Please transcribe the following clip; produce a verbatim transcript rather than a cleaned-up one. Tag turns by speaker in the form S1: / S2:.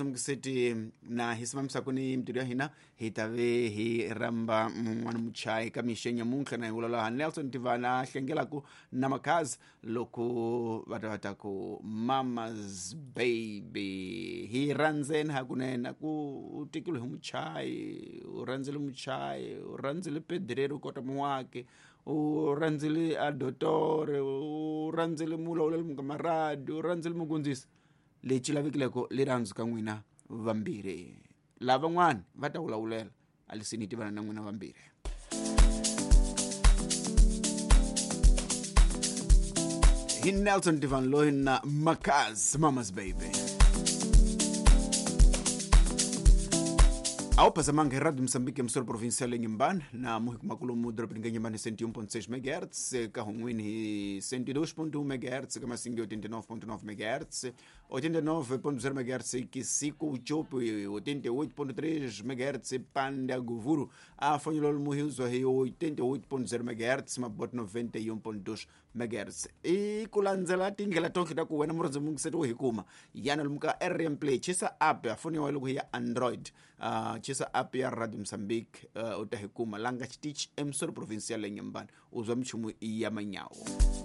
S1: Murandzi na hi simamisako ni mintirho ya hina hi ta ve hi rhamba n'wana muchayi ka mixo nyamuntlha na hi vulavula Nelson Tivana hlengelaku na Makhazi loko va ta va ta ku Mama's Baby. Hi rhandzeni hakunene ku u tekile hi muchayi, u rhandzile muchayi, u rhandzile pedrero kota muwaki, u rhandzile a dotore, u rhandzile mulawuleri mukamaradi, u rhandzile mugundzisi. Lexi lavekileko rirhandzu ka n'wina vambirhi, lavan'wana va ta vulavula alisini tivana na n'wina vambirhi. Hi Nelson Divan loyi na Makaz, Mama's Baby. Ao pasamanga Radio Moçambique emissora provincial em Inhambane, na Muhicumaculo dorobeni ka Inhambane cento e um ponto seis megahertz, ka Hunwini hi cento e dois ponto um megahertz, ka Massinga oitenta e nove ponto nove megahertz, oitenta e nove ponto zero megahertz, Kisico Uchopo oitenta e oito ponto três megahertz, Panda Govuro, a Fanhulolo Muhiuzo hi oitenta e oito ponto zero megahertz, Mabote noventa e um ponto dois megahertz. E kulandzela tindlela tonke ta ku wena murhandzi mungiseti wo hi kuma yana lomu ka R M Play, chisa app ya foni ya wena loko hi ya Android, uh, chisa app ya Radio Moçambique, uh, u ta hi kuma langa xitichi emissora provincial ya Inhambane, u zwa minchumu ya manyawo.